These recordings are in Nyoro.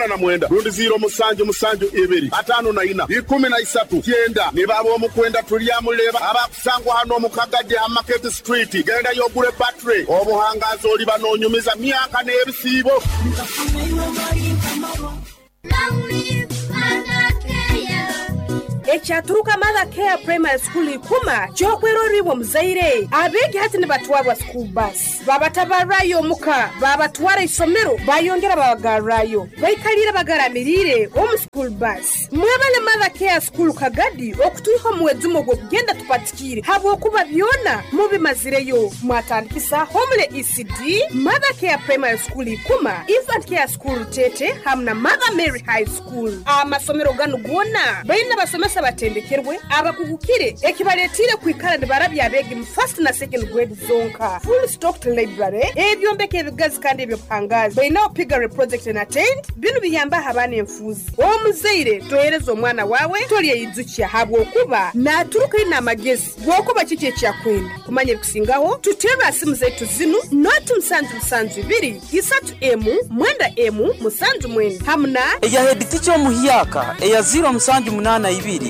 Na mwenda rundi ziiro musanju musanju ibiri ataano na ina ikumi na isatu kyenda. Niba ab'omukwenda tulyamuleba abakusangwa hano omu Kagadi ha Market Street. Gendayo ogule battery obuhangazi oliba n'onyumiza myaka n'ebisiibo. Ekyaturuka Mother Care Primary School ikuma kyokweroribwa omuzaire abeegi hati nibatwarwa school bus babatabarrayo omuka babatwara isomero bayongera babagarrayo baikalire bagaramiriire omu school bus. Mwebale Mother Care School Kagadi okutwiha omuwezumo gw'okugenda tupatikiire habwokuba byona mubimazireyo. Mwatandikisa Homele ECD, Mother Care Primary School ikuma, Infant Care School Tete hamu na Mother Mary High School. Amasomero ganu gona baina basomesa batendekerwe abakugukire ekibaletire kwikara nibarabya abeegi mu first na second grade zonka. Full stocked library, ebyombeko ebigazi kandi ebyobuhangazi. Bainaho piggery project na tent. Binu biyambaho abaana enfuuzi. Omuzaire tohereza omwana wawe tolyeyijukya habwokuba naturuka ina amagezi gwokuba kiki ekyakwenda kumanya. Ebikusingaho tuterwa simu zaitu zinu noti 772 3 M 9 M 79 hamuna eya head teacher omuhyaka eya 0782 50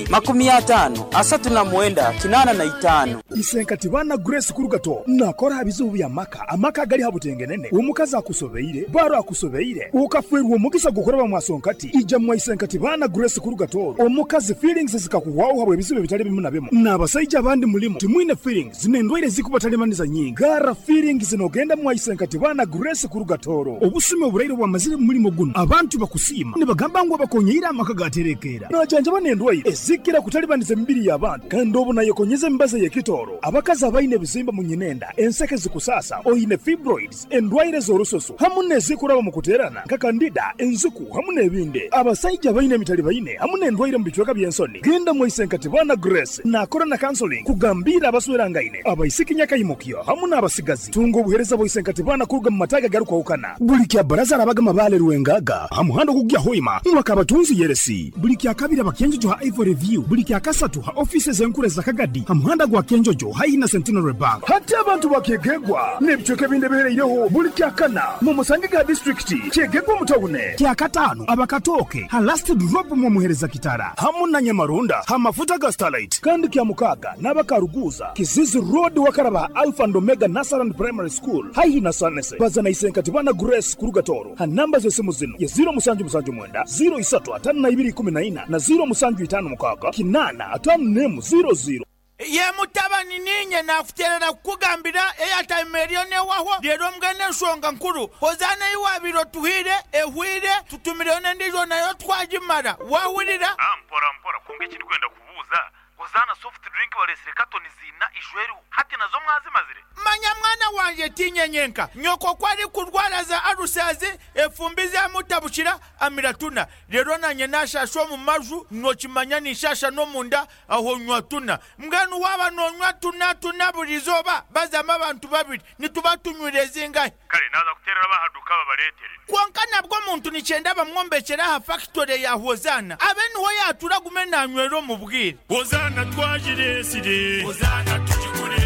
39 85. Isenkati bana Grace Kurugato nakora bizibu bya maka amaka gali habutengenene. Omukazi akusobeire, baro akusobeire, ukafwerwa omugisa gukoraba mwasonkati ija mwa Isenkati bana Grace Kurugato. Omukazi feelings zikakuwawo habwe ebizibu bitali bimu na bimu n'abasajja abandi mulimu timwine feelings n'endwaire zikubatalimaniza nyingi. Gara feelings nogenda mwa Isenkati bana Grace Kurugatoro. Obusumi oburaire bwamazire mu mulimo guno abantu bakusiima nibagamba ngu abakonyeire amaka gaterekera najanjaba n'endwaire ezikira kutalibaniza emibiri y'abantu kandi obu nayekonyeza emibazi ey'ekitooro. Abakazi abaine ebizimba mu nyinenda, enseke zikusasa, oine fibroids, endwaire z'orususu hamu n'ezikuraba mu kuterana nka candida, enziku hamu n'ebindi. Abasajja baine emitali baine hamu n'endwaire mu bicweka by'ensoni, genda mwa Isenkati bana Grace. Nakora na counseling kugambira abaswerangaine, abaisiki nyakaimukyo hamu n'abasigazi. Tunga obuhereza bwa Isenkati bana kuruga mu mataga garukwahukana buli kya baraza arabaga mabale Rwengaga ha muhanda ogugya Hoima mwaka abatunzi yeresi, buli kya kabiri abakenjojo ha Ivory View, buli kya kasatu ha offices enkuru za Kagadi ha muhanda gwa Kenjojo haihi na Centenary Bank. Hati abantu bakyegegwa n'ebicweka ebindi ebihereireho buli kya kana mu musange ga district kyegegwa mutawune, kya katano abakatoke ha Last Drop mu muhereza kitara hamu na Nyamarunda ha mafuta ga Starlight, kandi kya mukaga n'abakaruguza Kizizi Road wakaraba Alpha and Omega Nursery Primary School haihi na Sanese. Bazana Isenkati bana Grace Kurugatoro ha namba z'esimu zino ye 0779 03 52 14 na 0756 8 51 00. Ye mutabani niinye naakuteerera kukugambira airtime eriyo neehwaho reero mbwenu enshonga nkuru Hozaana ei waabaire otuhaire ehweire tutumireyo n'endiijo nayo twagimara waahurira? Mpora mpora kwonka eki ndikwenda kubuuza, Hozaana soft drink bareetsire katoni ziina ijo eriho hati nazo mwazimazire? Manya mwana wangye tiinye nyenka, nyoko ku arikurwara za alusazi efumbi zamutabukira amira tuna, reero naanye naashaasha omu maju, nookimanya ninshaasha n'omunda aho nywa tuna. Mbwenu waaba noonywa tuna tuna buri izooba bazamu abantu babiri nituba tunywire zingahi? Kare naaza kuteerera ab'aha duuka babareetere. Kwonka nabwo omuntu nikyenda bamwombekyere aha fakitore ya Hozaana abe niho yaatuura agume naanywera omu bwire. Hozaana twagireetsire. Hozaana tugigure.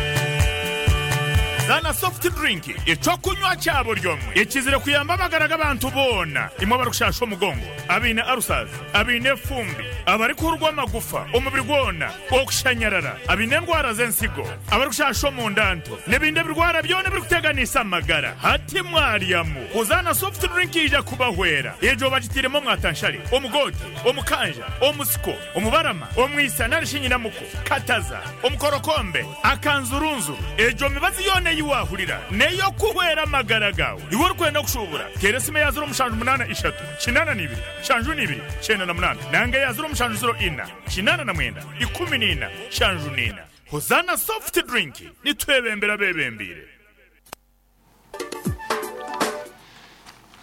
Zaana soft drink eky'okunywa kya buri omwe ekizire kuyamba amagara g'abantu boona. Imwe abarikushasha omugongo, abaine ulcers, abaine efumbi, abarikuhurwa amagufa omubiri gwona, okushanyarara, abaine endwara z'ensigo, abarikushasha omunda nto n'ebindi ebirwara byona ebirikuteganisa amagara. Hati mwaryamu Hozaana soft drink eija kubahwera. Egyo bagitairemu omwatanshare, omugoote, omukanja, omusiko, omubarama, omwisa nari shi nyinamuko, kataza, omukorokombe, akanzurunzuru. Egyo mibazi yoona ei waahurira n'ey'okuhwera amagara gaawe. Iwe orikwenda kushuubura, teera esimu eya 078 82 72 98 nanga eya 0704 89 14 74. Hozaana Soft Drink, nitwebembera abeebembeire.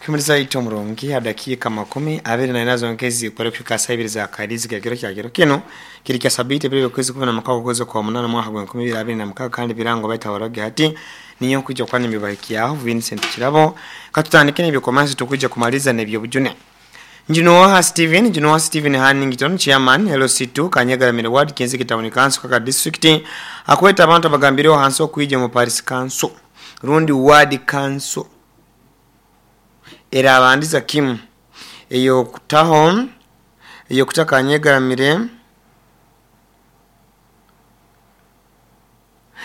Kumuriza ito omurungi adakiika 24 zonka ezikora kuhika saa ibiri za karizi kekiro kya kiro kino kiri kya sabiti ebiri okwezi 16 okwezi kwa munana mwaka gwa 2026 kandi birango baita waroge hati niyo kuja kwani mibahikiaho Vincent Kirabo. Katutandike n'ebyokomansi tukuja kumaliza n'ebyobujune. Njunoha Steven, Njunoha Steven Hannington, chairman LC2 Kanyagaramire Ward, Kinziki Town Council, Kaka District, akweta abantu abagambireho hansi okwija mu Parish Council rundi Ward Council erabandiza kimu. Eyokutaho eyokuta Kanyegaramire,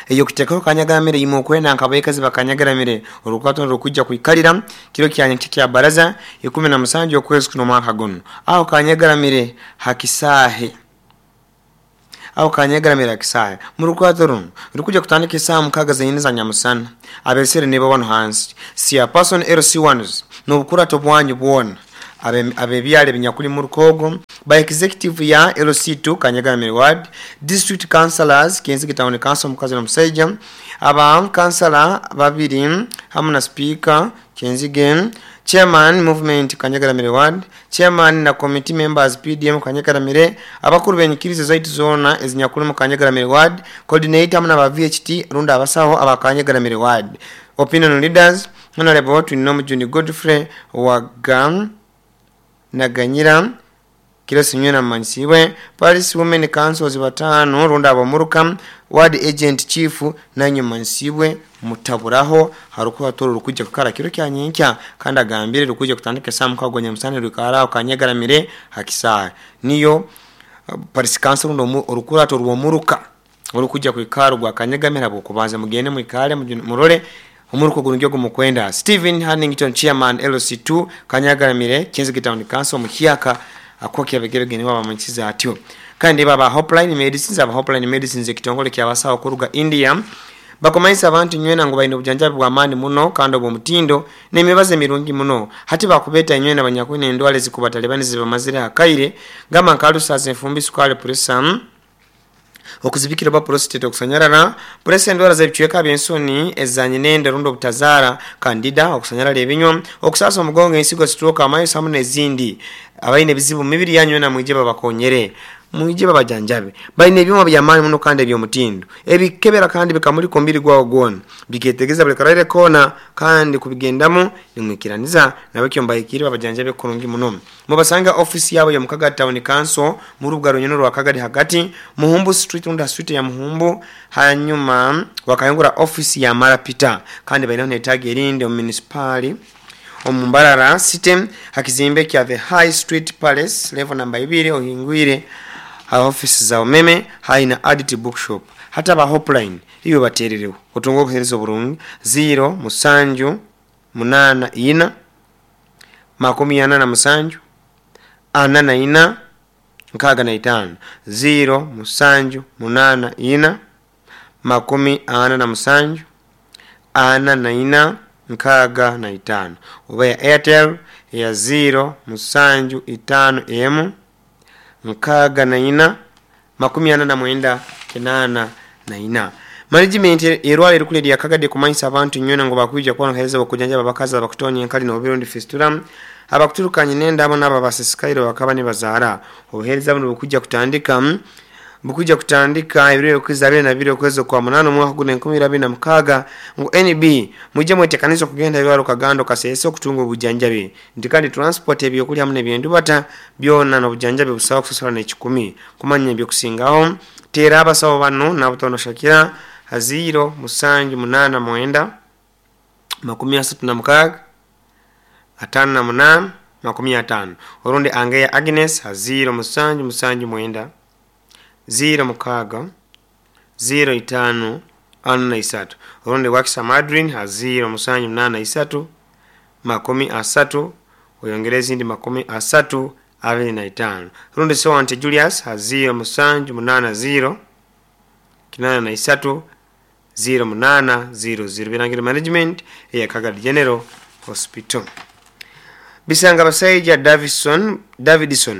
eyokutekaho Kanyegaramire, imwe okwenda nkabaikazi bakanyegaramire, orukwato rukujja kwikalira kiro kya kya baraza 17 okwezi kuno mwaka guno, aho Kanyegaramire hakisahe, aho Kanyegaramire hakisahe. Murukwato runo rukuja kutandika isaa 6 zenyini za nyamusana. Abesere nibo bano hansi sia person LC1s n'obukurato bwanyu bwona abebyale binyakuli mu rukogo by executive ya LC2 Kanyegaramire ward, district councillors Kyenzige town council mukazi na musaija, aba councillor babiri hamwe na speaker Kyenzige, chairman movement Kanyegaramire ward, chairman na committee members PDM Kanyegaramire, abakuru benyikirizo zaitu zona ezinyakuli mu Kanyegaramire ward, coordinator hamwe na ba VHT runda abasaho aba Kanyegaramire ward, opinion leaders honorable Twinomujuni Godfrey Wagam Naganyira Kilosi Nywena Mansiwe, Paris Women Councils batano runda abamuruka, ward agent chief nanyu Mansiwe mutaburaho. Harukuwa toro rukujja kukara kiro kya nyenkya kandi agambire rukujja kutandika saa 6 nyamusana rukara Kanyegaramire hakisaha. Niyo Paris Council ndo orukurato rwomuruka orukujja kwikara gwa Kanyegamira bokubanza mugende mwikale murole omuruko gunugyo gumukwenda. Stephen Hannington chairman LC2 Kanyegaramire Kyenzige town council muhyaka akoki abegeregene wabamanyiza atyo. Kandi baba Hopeline Medicines, aba Hopeline Medicines ekitongole kyabasawo kuruga India bakomayisa abantu nywena ngo bayina obujanjabi bwa maani muno kandi obw'omutindo n'emibazo emirungi muno. Hati bakubeta nywena banyakwine endwala ezikubatalibani zibamazire akaire gamba nkalusaza enfumbi, sukali, pressure, okuzibikira ba prostate, okusanyarara pressure, endwala z'ebicweka by'ensoni ezanye nende rundo obutazaara, candida, okusanyarara ebinywa, okusasa omugongo, ensigo, stroke, amayiso hamwe n'ezindi. Abaine ebizibu mu mibiri yanyu na mwije babakonyere, mwije babajanjabe. Baine ebyuma by'amaani muno kandi eby'omutindo ebikebera kandi bikamulika omubiri gwawo gwona, biketegeza buli karwaire koona kandi kubigendamu nimwikiraniza nabakyo mbayikire babajanjabe kurungi muno. Mubasanga office yabo ya Mukaga Town Council mu rubuga runyuno rwa Kagari hagati Muhumbu Street unda street ya Muhumbu, hanyuma wakayungura office ya Marapita. Kandi baina netagi erinde mu municipal Omumbarara City hakizimbe kya the High Street Palace level number 2 ohingwire ha office za umeme haina Adit Bookshop. Hata ba Hopeline iyo baterereho otungo obuhereza burungi 0 7 8 4 47 44 65 0 7 8 4 47 44 65 oba ya Airtel ya 0 7 5 M 64 49 84. Management erwale erukule ya Kagadi kumanyisa abantu nywena ngo bakwija kuona hereza bakujanja babakaza bakutonya enkali n'obirundi fistula abakuturukanye nenda abo naba basisikairo bakaba ne bazara obuhereza buno bukujja kutandika ebiro kwezi 22 okwezi kwa 8 omwaka guno 2026 ngo NB mujje mwetekanizo kugenda ebirwaro Kagando Kasese okutunga obujanjabi nti kandi transport ebyokulya hamwe n'ebyendubata byona n'obujanjabi busawa kusasula n'ekikumi kumanya ebyokusingaho tera abasawo bano n'abutono Shakira 0 7 8 9 36 58 50 orundi Angeya Agnes 0 7 7 9 0 6 0 5 43 orundi Wakisa Madrin 0 7 8 3 30 oyongereza indi 30 25 rundi Sewante Julius 0 7 8 0 83 0 8 0 0 Birangira management ya Kagadi General Hospital. Bisanga basaija Davidson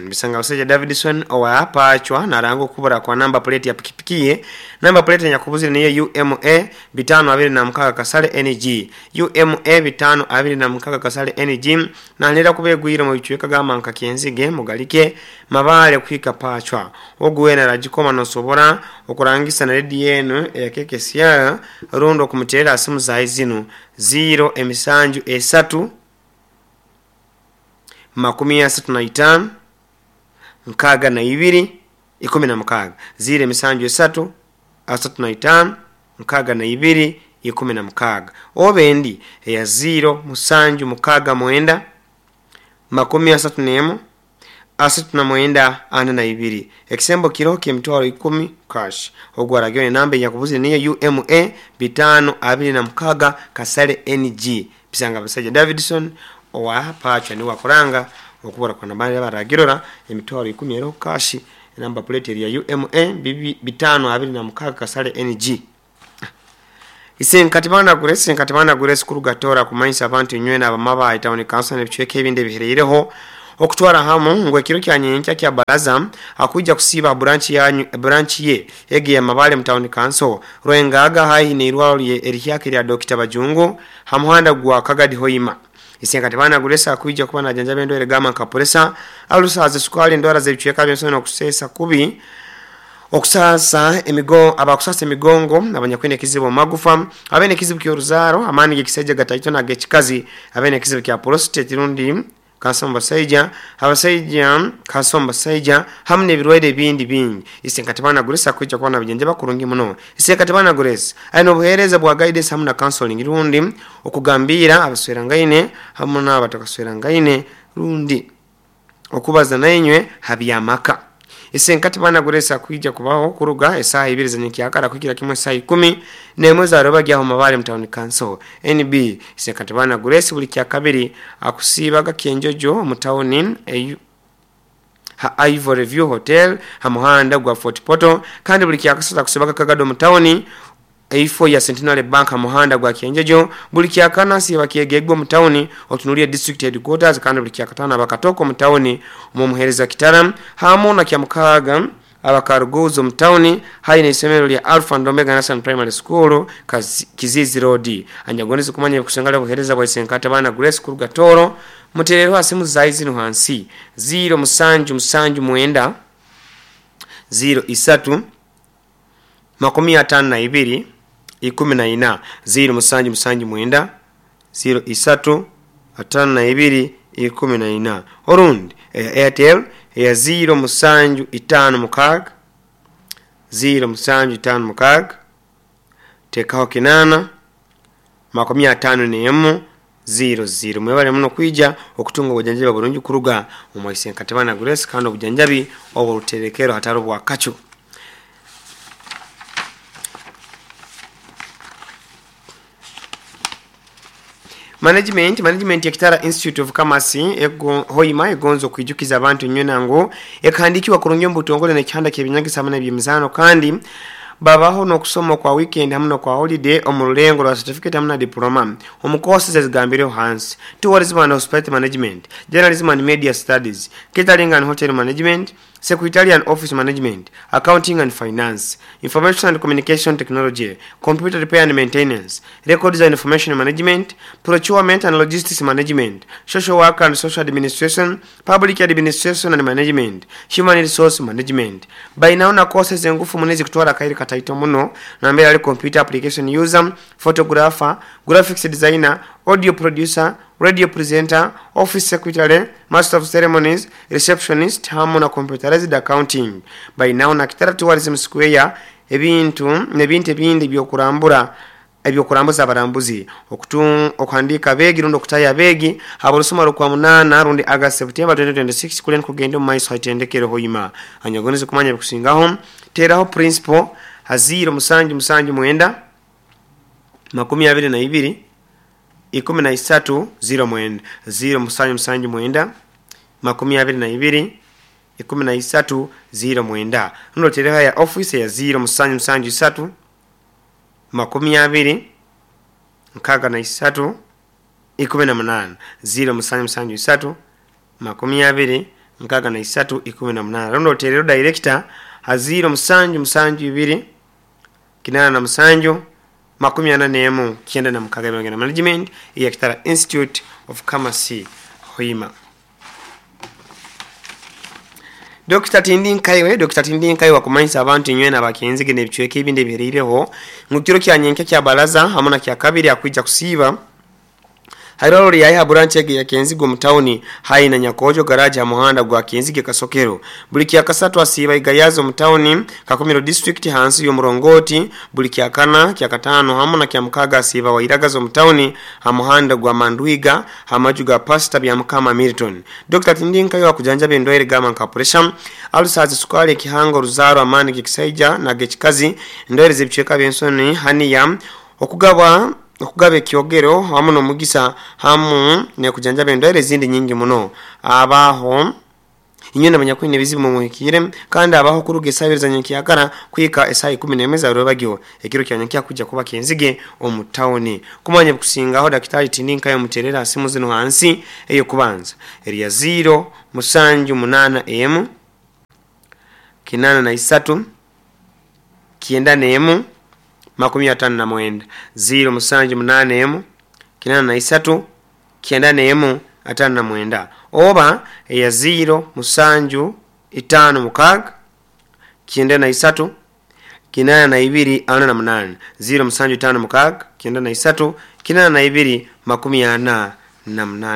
Bisanga basaija Davidson owa pachwa narango kubura kwa namba plate ya pikipiki. Namba plate nyakubuzire niyo UMA 526 kasale NG UMA 526 kasale NG na nera kubegwira mu bichweka gama nka Kyenzige mugalike mabale kwika pachwa oguwena rajikoma nosobora okurangisa na redi yenu ya KKCR rundo kumuterera asimu za zinu 0 emisanju 3 35 62 16 0 7 3 35 62 16 obendi ya 0 7 6 9 31 39 42. Ekisembo kiroho ky'emitwaro 10 cash. Ogwo aragirwa enamba enyakubuzire niyo UMA 526 Kasale NG. Bisanga Basajja Davidson owa Pacha niwe akuranga okubura kwa nambari abaragirora emitwaro 10 eroho cash. Enamba plate eri ya UMA 526 Kasale NG. Isenkatibana Grace, Senkatibana Grace kurugatora kumanyisa abantu inywe n'abamaba town council n'ebicweka ebindi ebihereireho okutwara hamu ngo ekiro kya nyenkya kya baraza akujja kusiba branch yanyu branch ye ege ya Mabale mu town council Rwengaga haihi n'irwaro erihyaka lya Dr. Bajungu hamuhanda gwa Kagadi Hoima. Isenkatibana Grace akujja kuba najanjaba endwere gama nka pressure, alusaze, sukali, endwara z'ebicweka by'ensonga okusesa kubi, okusasa emigo abakusasa emigongo, abanyakwine ekizibu magufa, abene ekizibu ky'oruzaaro, amaani g'ekisajja gataito n'ag'ekikazi, abene ekizibu kya prostate rundi kansa mubasaija, abasaija kansa mubasaija, hamu n'ebirwaire ebindi bingi. Isenkatibana Grace akwijja kuba nabijanjaba kurungi muno. Isenkatibana Grace ayina obuheereza bwa guidance hamu na counseling rundi okugambira abaswerangaine hamu n'abatakaswerangaine rundi okubaza nainywe habyamaka. Isenkatibana Grace akwijja kubaho kuruga esaha 2 z'enyekyakara kuhikira kimwe esaha 11 za rubagyaho Mabale mu town council. NB Isenkatibana Grace buli kya kabiri akusiibaga Kyenjojo mu town ha Ivory View Hotel ha muhanda gwa Fort Portal, kandi buli kyakasatu akusiibaga Kagado mu town eifo ya Centenary Bank ha muhanda gwa Kyenjojo. Buli kyakana siba Kyegegwa mu town otunulie district headquarters, kandi buli kyakatano abakatoko mu town mu muhereza Kitara hamu na kyamukaga abakaruguzo mu town hayi isomero lya Alpha and Omega National Primary School Kizizi Road. Anyagonizi kumanya kusengala buhereza bwa Isenkatibana Grace kuruga Toro muterero asimu zai zino hansi 0 7 7 9 0 3 52 14 0 7 7 9 0 3 52 14. Orundi Airtel ya 0 7 5 6 0 7 5 6 tekaho kinana 51 0 0. Mwebale muno kwija okutunga obujanjabi bulungi kuruga omu Isenkatibana Grace, kandi obujanjabi obwo hataro bwa kacu. Management ya Kitara Institute of Commerce ego Hoima egonzo kwijukiza abantu nywe ngo ekahandikiwa kurungi mbutongole n'ekyanda ky'ebinyagisa hamwe n'ebyemizano, kandi babaho n'okusoma kwa weekend hamwe no kwa holiday omu rulengo rwa certificate hamwe na diploma omu courses ezigambireho hansi: tourism and hospitality management, journalism and media studies, catering and hotel management, secretarial and office management, accounting and finance, information and communication technology, computer repair and maintenance, records and information management, procurement and logistics management, social work and social administration, public administration and management, human resource management. Bainaona courses engufu munezi kutwara kairi kataito muno nambere ali computer application user, photographer, graphics designer, audio producer, radio presenter, office secretary, master of ceremonies, receptionist hamu na computerized accounting. Bainaona Kitara Tourism Square ebintu n'ebintu ebindi byokurambura ebyokurambuza abarambuzi okuhandika begi rundi okutaya begi haborusoma rukwa 8 rundi August September 2026 kulen kugenda mu maiso haitendekero Hoima. Anyagonize kumanya bikusingaho teraho principal ha 0 7 7 9 22 13 0 9 0 7 7 9 22 13 0 9. Rundi teraho ya office ya 0 7 7 3 20 63 18 0 7 7 3 20 63 18. Rundi oterero director ha 0 7 7 2 87 41 96 na management ya Kitara Institute of Commerce Hoima. Dr. Tindi Dr. Tindi Nkaiwe akumanyisa abantu inywe n'abakenzige n'ebicweka ebindi ebihereireho ngu kiro kya nyenkya kya baraza hamwe na kya kabiri akwija kusiiba Hairwaro lyayi ha branch ege ya Kenzige omu tawuni hayi na Nyakojo garage ha muhanda gwa Kenzige Kasokero. Buli kyakasatu asiiba Igayaza omu tawuni Kakumiro district hansi y'omurongoti. Buli kyakana, kyakatano hamu na kyamukaga asiiba Wairagaza omu tawuni ha muhanda gwa Mandwiga ha maju ga Pastor Byamukama Milton. Dr. Tindinkayo akujanjaba endwaire gamba nka pressure, ulcers, sukali, ekihanga, oruzaaro, amaani g'ekisaija n'ag'ekikazi, endwaire z'ebicweka by'ensoni, haniya, okugaba ekyogero hamu n'omugisa hamu n'ekujanjaba endwaire ezindi nyingi muno. Abaho inywe n'abanyakwine ebizibu mumuhikiire kandi abaho kuruga esaaha ibiri za nyenkyakara kuhika esaaha 11 za rwebagyo. Ekiro kya nyenkya kujja kuba Kenzige omu tawuni. Kumanya ebikusingaho Daktari Tindinkayo muterera simu zino hansi. Ey'okubanza erya 0 7 8 83 91 59 0 7 8 83 91 59 oba eya 0 7 5 6 93 82 48 0 7 5 6 93 82 48.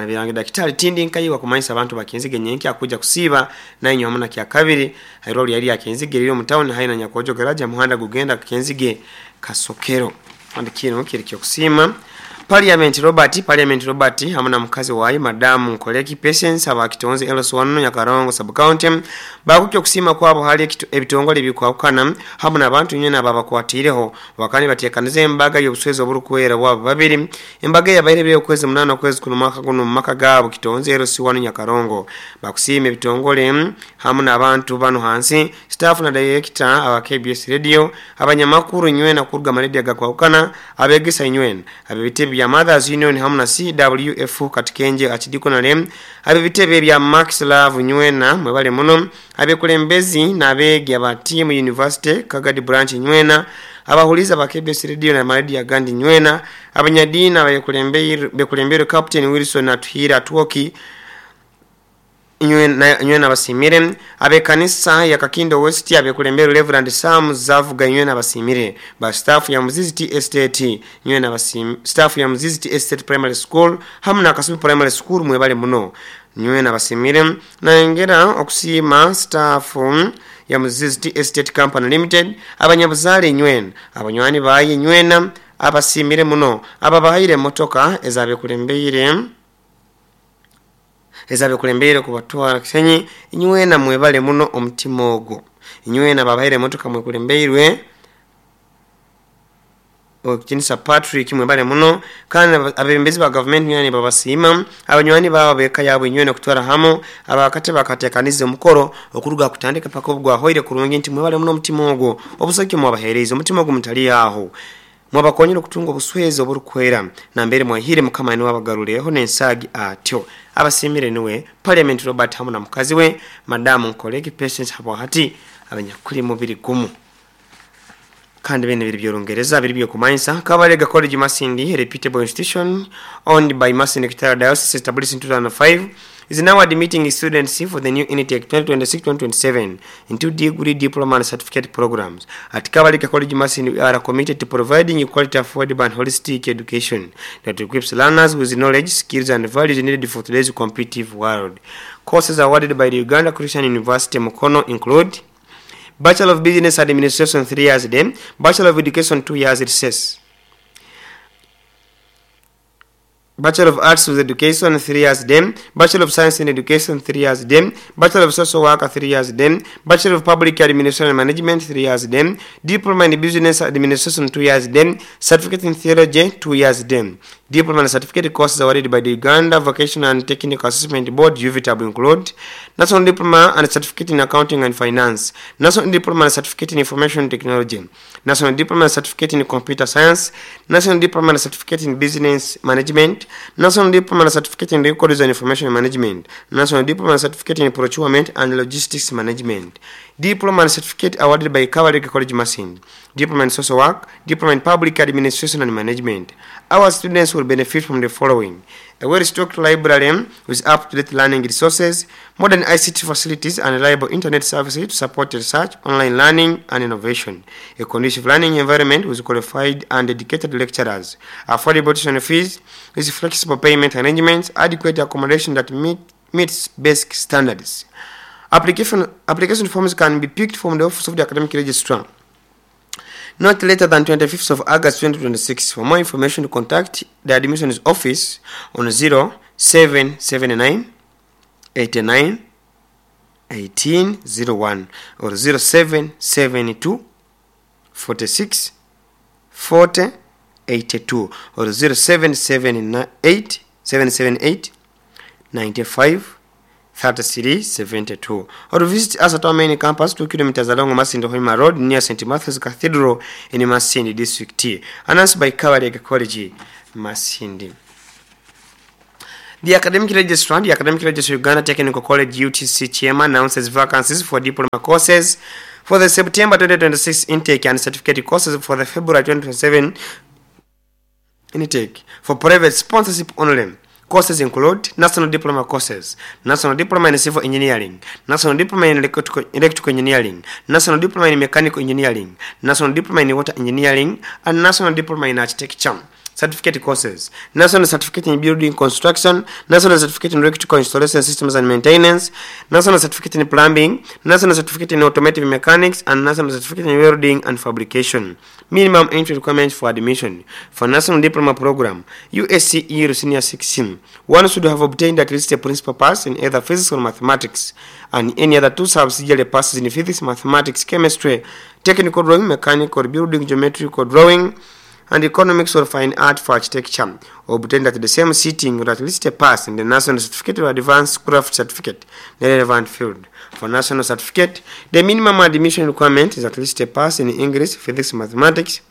Birange Daktari Tindinkayo wakumanyisa abantu bakinzige nyenkya kuja kusiba nainywe hamu na kyakabiri hairoli yali yakenzige riri omu tawuni haina Nyakojo garage muhanda gugenda Kenzige Kasokero. Kandi kino kiri kyokusiima Parliament Robert hamu na mukazi wayi Madamu Nkoleki Patience abakitonze LS1 Nyakarongo sub county bakukyo kusima kwabo hali ebitongole bikwakana hamu n'abantu nyene ababakwatireho wakani batekanize embaga y'obuswezi oburukwera bwabo babiri. Embaga yabaire byo kwezi 8 kwezi kuno mwaka guno mu maka gabo kitonze LS1 Nyakarongo. Bakusima ebitongole hamu n'abantu bano hansi staff na director aba KBS Radio abanyamakuru nywena kuruga maredio gakwakana abegesa nywena abebitebe bya Mothers Union hamu na CWF Katikenje Archdiaconal abebitebe bya Max Love nywena mwebale muno abekulembezi n'abeegi aba team University Kagadi branch nywena abahuliza ba KBS Radio na maredio agandi nywena abanyadini abekulembere Captain Wilson Atuhira Atuoki nywena basimire abekanisa ya Kakindo West abekulembere Reverend Sam Zavuga nywena basimire ba staff ya Muzizi Tea Estate nywena basimire staff ya Muzizi Tea Estate Primary School hamu na Kasubi Primary School mwebale muno nywena basimire. Nayongera okusima staff ya Muzizi Tea Estate Company Limited abanyabuzale nywena abanywani baye nywena abasimire muno ababahaire motoka ezabekulembere kubatwara Kisenyi nywena mwebale muno omutima ogwo nywena babahaire motoka mwekulembeirwe Okinisa Patrick mwebale muno kandi abebembezi ba government nywena babasima abanywani babo beka yabo nywena kutwara hamo abakate bakatekanize omukoro okuruga kutandika paka obugwa hoire kurungi nti mwebale muno omutima ogwo obusaki mwabahereza omutima ogwo mutali aho mwabakonyera okutunga obuswezi oburukwera nambere mwahire mukama ni wabagaruleho n'ensagi atyo. Abasimire niwe Parliament Robert hamu na mukazi we Madamu Nkoleki Patience habo hati abanyakuli mubiri gumu. Kandi bene biri by'Olungereza biri byokumanyisa Kabalega College Masindi, a reputable institution owned by Masindi Kitara Diocese established in 2005, is now admitting students for the new intake 2026-2027 into degree, diploma and certificate programs. At Kabalega College Masindi, we are committed to providing quality, affordable and holistic education that equips learners with knowledge, skills and values needed for today's competitive world. Courses awarded by the Uganda Christian University Mukono include Bachelor of Business Administration 3 years then, Bachelor of Education 2 years recess, Bachelor of Arts with Education 3 years then, Bachelor of Science in Education 3 years then, Bachelor of Social Work 3 years then, Bachelor of Public Administration and Management 3 years then, Diploma in Business Administration 2 years then, Certificate in Theology 2 years then. Diploma and certificate courses awarded by the Uganda Vocational and Technical Assessment Board UVTAB include National Diploma and Certificate in Accounting and Finance, National Diploma and Certificate in Information Technology, National Diploma and Certificate in Computer Science, National Diploma and Certificate in Business Management, National Diploma and Certificate in Records and Information Management, National Diploma and Certificate in Procurement and Logistics Management. Diploma and Certificate awarded by Kabalega College Masindi, Diploma in Social Work, Diploma in Public Administration and Management. Our students will benefit from the following: A well-stocked library with up-to-date learning resources, modern ICT facilities, and reliable internet services to support research, online learning, and innovation. A conducive learning environment with qualified and dedicated lecturers, affordable tuition fees with flexible payment arrangements, adequate accommodation that meets basic standards. Application forms can be picked from the office of the academic registrar not later than 25th of August 2026. For more information, contact the admissions office on 0779 89 1801 or 0772 46 40 82 or 0778 778 95 33 72 or visit us at our main campus, 2 kilometers along Masindi Hoima Road near St. Matthew's Cathedral in Masindi District. Announced by Kabalega College, Masindi. The Academic Registrar Uganda Technical College UTC chairman announces vacancies for diploma courses for the September 2026 intake and certificate courses for the February 2027 intake for private sponsorship only. Courses include National Diploma courses, National Diploma in Civil Engineering, National Diploma in Electrical Engineering, National Diploma in Mechanical Engineering, National Diploma in Water Engineering, and National Diploma in Architecture. Certificate courses, National Certificate in Building Construction, National Certificate in Electrical Installation Systems and Maintenance, National Certificate in Plumbing, National Certificate in Automotive Mechanics, and National Certificate in Welding and Fabrication. Minimum entry requirements for admission for National Diploma Program, USCE Senior 16. One should have obtained at least a principal pass in either physics or mathematics, and any other two subsidiary passes in physics, mathematics, chemistry, technical drawing, mechanical building, geometrical drawing, and economics or fine art for architecture, obtained at the same sitting or at least a pass in the National Certificate or Advanced Craft Certificate in the relevant field. For National Certificate, the minimum admission requirement is at least a pass in English, Physics, Mathematics,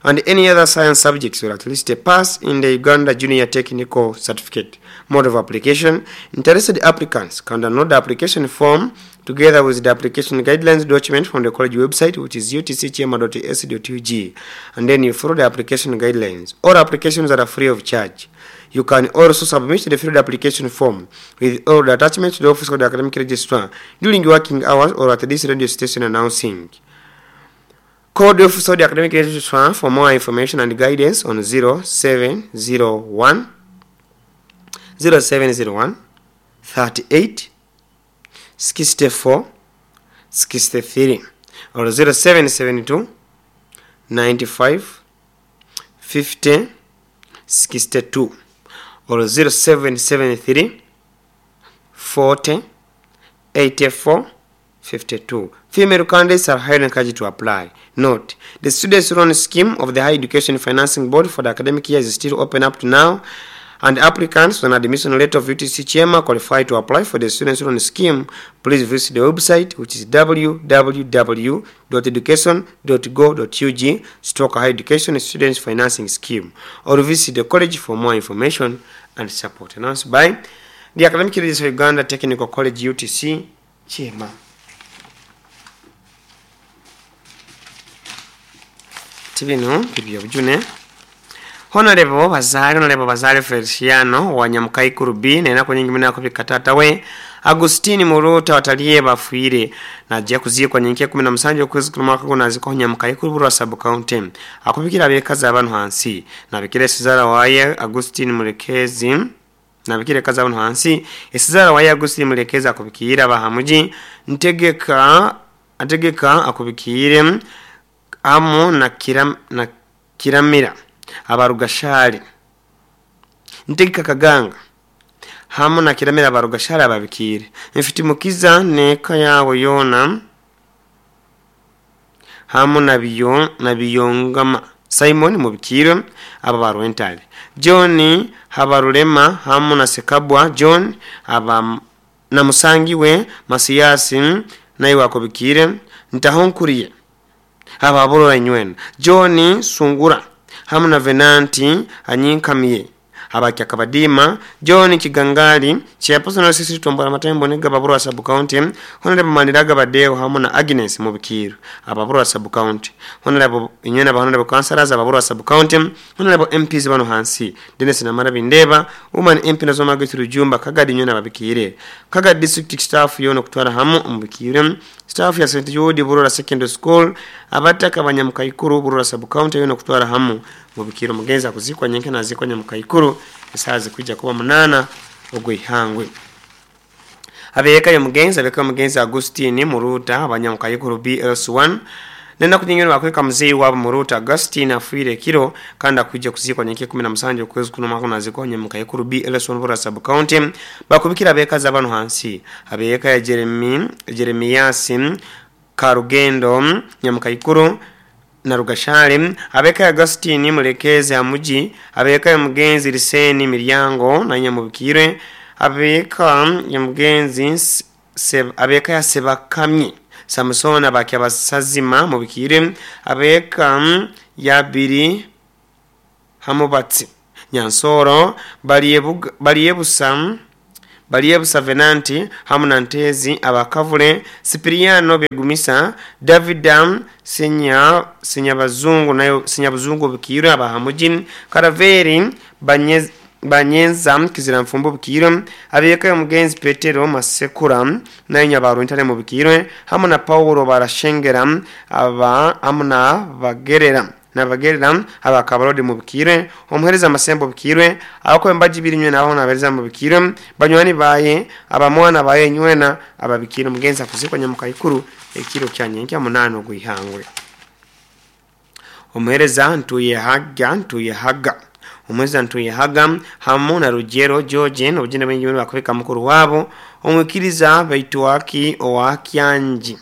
and any other science subjects, or at least a pass in the Uganda Junior Technical Certificate. Mode of application: interested applicants can download the application form together with the application guidelines document from the college website, which is utcchema.ac.ug, and then you follow the application guidelines. All applications are free of charge. You can also submit the filled application form with all the attachments to the office of the academic registrar during working hours or at this radio station announcing. Call the office of the academic registrar for more information and guidance on 0701 0701 38 64 63 or 0772 95 50 62 or 0773 40 84 52. Female candidates are highly encouraged to apply. Note, the Students' Loan Scheme of the Higher Education Financing Board for the academic year is still open up to now, and applicants on admission letter of UTC Chema qualify to apply for the Students' Loan Scheme. Please visit the website, which is www.education.go.ug stroke Higher Education Students Financing Scheme, or visit the college for more information and support. Announced by the Academic Registrar of Uganda Technical College UTC Chema. Tibino bibyo bujune. Honorable Bazale Feliciano wa Nyamukaikuru B nenako nyingi munako bikatata we Agustini Murota wataliye bafuire najja kuziikwa nyenke 17 okwezi kuno mwaka guno aziko Nyamukaikuru Burwa sub county. Akubikira abekazi abantu hansi nabikira Sizara waye Agustini Murekezi, nabikira kazi abantu hansi Esizara waye Agustini Murekezi. Akubikira bahamuji ntegeka ategeka, akubikire amo na kiramira abarugashari, ntegeka kaganga hamo na kiramira abarugashari, ababikire mfite mukiza neka yabo yona hamo na biyo na biyongama Simon mubikire aba barwentale John Habarulema hamo na Sekabwa John aba na musangi we Masiyasi naye wakobikire ntahonkuriye ababurora nywena John Sungura hamwe na Venanti anyinkamiye. Abakyakabadiima John Kigangali, chairperson wa CC Tombora Matembo Niga Baburwa sub county, Honorable Maniraga Badeo hamu na Agnes Mubikiru Ababurwa sub county, Honorable Inyena ba Honorable Councillors Ababurwa sub county, Honorable MPs bano hansi Dennis Namara Bindeba, Woman MP Nazoma Gitu Rujumba Kagadi Inyena babikire Kagadi district staff yono kutwara hamu mubikire staff ya St Jude Burora Secondary School abataka abanyamukaikuru Burora sub county yono kutwara hamu mubikiro mugenza kuzikwa nyenke nazikwa nyamukaikuru esazi kwijja kuba 8 ogwihangwe. Abeka yo mugenza abeka mugenza Agustini Muruta abanyamukaikuru BLS1 nenda kunyingiro bakweka mzee wabo Muruta Agustine afwire kiro kanda kwijja kuzikwa nyenke 17 kwezi kuno mwaka nazikwa nyamukaikuru BLS1 Burora sub county bakubikira abeka zabano hansi abeka ya Jeremias Karugendo nyamukaikuru na Rugashale, abeka Agustini Mulekeze amuji, abeka ya mugenzi Liseni Miryango na nyamubikire, abeka ya mugenzi abeka ya Sebakamyi Samson abakya basazima mubikire, abeka ya Biri Hamubatsi Nyansoro Baliebusa Venanti hamu na Ntezi abakavule Sipiriano Begumisa Davidam Senyabazungu nayo Senyabazungu bikiro abahamujin Karaveri Banyenza Kizira mfumbo bikiro abeka mugenzi Petero Masekura nayo nyabaru intare mu bikiro hamu na Paulo barashengera aba hamu na bagerera nabagerera abakabarodi mu bikire omuhereza amasembo bikire abako embaji birinywe naho nabereza mu bikire banywani baye abamwana baye nywena ababikire mugenza kuzikwa nyamukaikuru ekiro kyanyenke 8 gwihangwe. Omuhereza ntuye haga omuhereza ntuye haga hamu na Rugero George n'obugenda bwingi bakubika mukuru wabo omwikiriza baitwaki owakyanji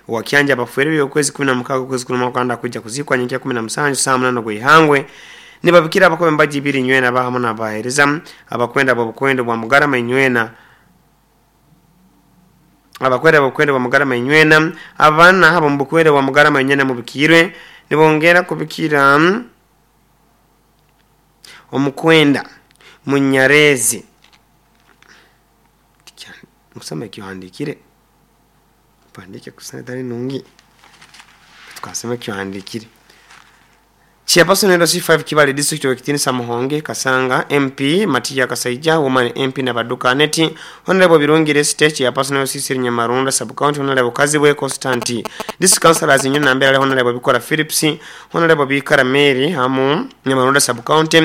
wakyanja abafuere byokwezi 16 kwezi 10 kwanda kujja kuzikwa nyenke 17 saa 8 gwihangwe nibabikira abakobe mbaji biri nywena bahamu nabahereza abakwenda bobukwendo bwa mugarama inywena abakwenda bobukwendo bwa mugarama inywena abana habo mbukwendo bwa mugarama inywena mubikirwe nibongera kubikira omukwenda munyarezi musome kihandikire pandike kusana dali nungi tukasema kihandikire. Chairperson LC5 Kibale District wa Kitini Samuhonge Kasanga MP Matia Kasaija Woman MP na Baduka Neti Honorable Birungi State Chairperson LC Nyamarunda Sub County Honorable Kazibwe Constanti District Councilors Nyona Nambere Honorable Bikora Philips Honorable Bikara Mary hamu Nyamarunda Sub County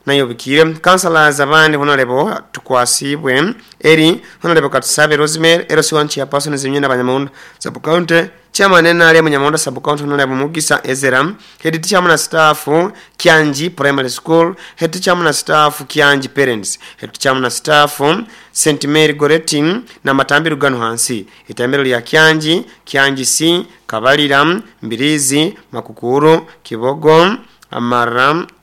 nayo bikire Councilors abandi Honorable Tukwasibwe Eri Honorable Katusabe Rosemary LC1 Chairperson Zinyona Banyamunda Sub County Chairman NRM Nyamonda Sub County Honorable Mugisa Ezera Head teacher na staff Kyanji Primary School Head teacher na staff Kyanji Parents Head teacher na staff St Mary Goretti na Matambiro gano hansi itambiro lya Kyanji Kyanji C Kabalira Mbirizi Makukuru Kibogo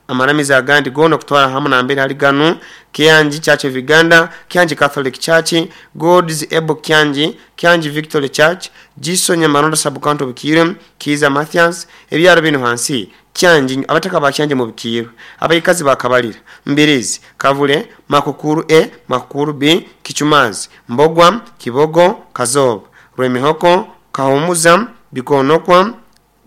amaramiza agandi gono kutwara hamu na mbere hali gano Kyanji Church of Uganda Kyanji Catholic Church God's Ebo Kyanji Kyanji Victory Church Jiso Nyamarondo Sub County Bukire Kiza Mathias ebyaro bino hansi Kyanji abataka ba Kyanji mu Bukire abayikazi bakabalira Mbirizi Kavule Makukuru E Makukuru B Kichumazi Mbogwa Kibogo Kazoba Rwemihoko Kahumuza Bikonokwa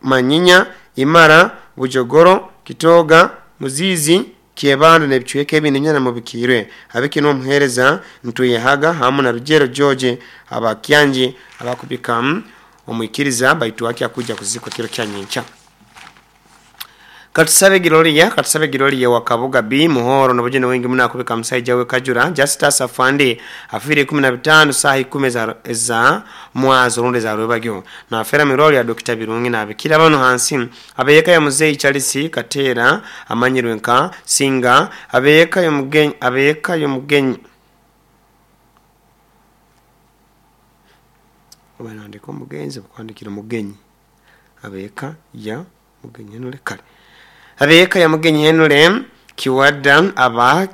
Manyinya Imara Bujogoro Kitoga Muzizi Kiebando nebichweke ebindi mu bikirwe abiki no muhereza ntuye haga hamu na Rugero George abakyanji abakubika omwikiriza baitu wake akuja kuzikwa kiro kyanyencha. Katusabe Giloria wa Kabuga B Muhoro nabujene wengi muna kubika msaija we Kajura Justus Afande afire 15 sahi 10 za mwazo runde za rwebagyo na afera miroli ya Dr. Birungi na abikira bano hansi abeyeka ya muzei Charles Katera amanyirwe nka Singa abeyeka yo mugenyi obanandiko mugenzi kwandikira mugenyi abeyeka ya mugenyi nule kale abeka ya mugenyi henule kiwada aba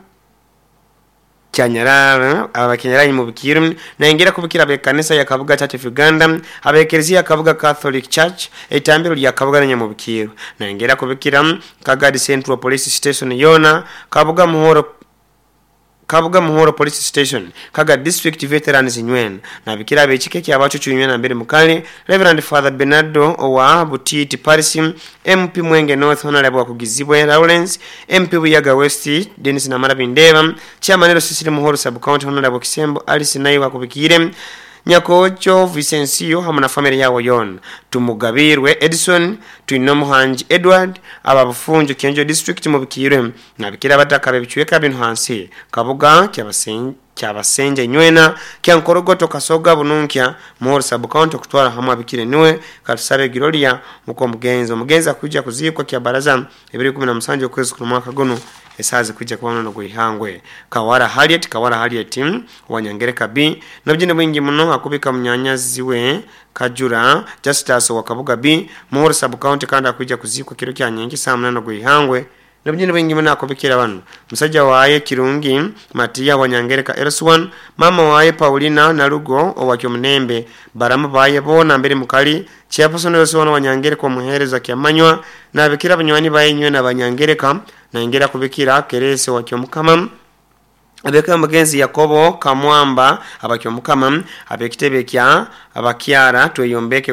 kyanyarara abakenyaranye mu bikiru naingira kubikira be kanisa ya Kabuga Church of Uganda abekereziya Kabuga Catholic Church etambiro lya Kabuga nanya mu bikiru naingira kubikira Kagadi Central Police Station yona Kabuga Muhoro Kabuga Muhoro Police Station, Kaga District Veterans Nywena, nabikira abekika ekyabacucu nywena mbere mukale Reverend Father Bernardo owa Butiti Paris, MP Mwenge North Honorable Wakugizibwe Lawrence, MP Buyaga West Dennis Namara Bindeba, Chairman Sisiri Muhoro Sub County Honorable Kisembo Alice naye wakubikire Nyakocho Vicencio hamwe na family yawo yona, Tumugabirwe Edison, Twinomuhanji Edward, ababufunjo Kyenjo District mubikirwe, nabikira abataka bebicweka bino hansi Kabuga kyabasenje nywena kyankorogoto Kasoga Bununkya Muhoro Sub County kutwara hamwe abikire niwe katusabe Girolia muko mugenzi omugenzi akuja kuzikwa kya baraza 2017 okwezi ku mwaka guno esazi kuja kubona no guihangwe. Kawara Harriet, Kawara Harriet Wanyangereka B nabyo bwingi muno akubika munyanya ziwe Kajura Justus wa Kabuga B Muhoro Sub County kandi akuja kuzikwa kiro kya nyengi saa 8 guihangwe nabyo bwingi muno akubikira bano musajja waye Kirungi Matiya Wanyangereka Elswan, mama waye Paulina Nalugo owakyo Munembe, baramu baye bona mbere mukali chairperson Elswan Wanyangereka omuhereza kyamanywa nabikira banywani baye nywe na Banyangereka naingera kubikira Kerese wakyo Mukama abeka mugenzi Yakobo Kamwamba abakyo Mukama abekitebe kya abakyara tweyombeke.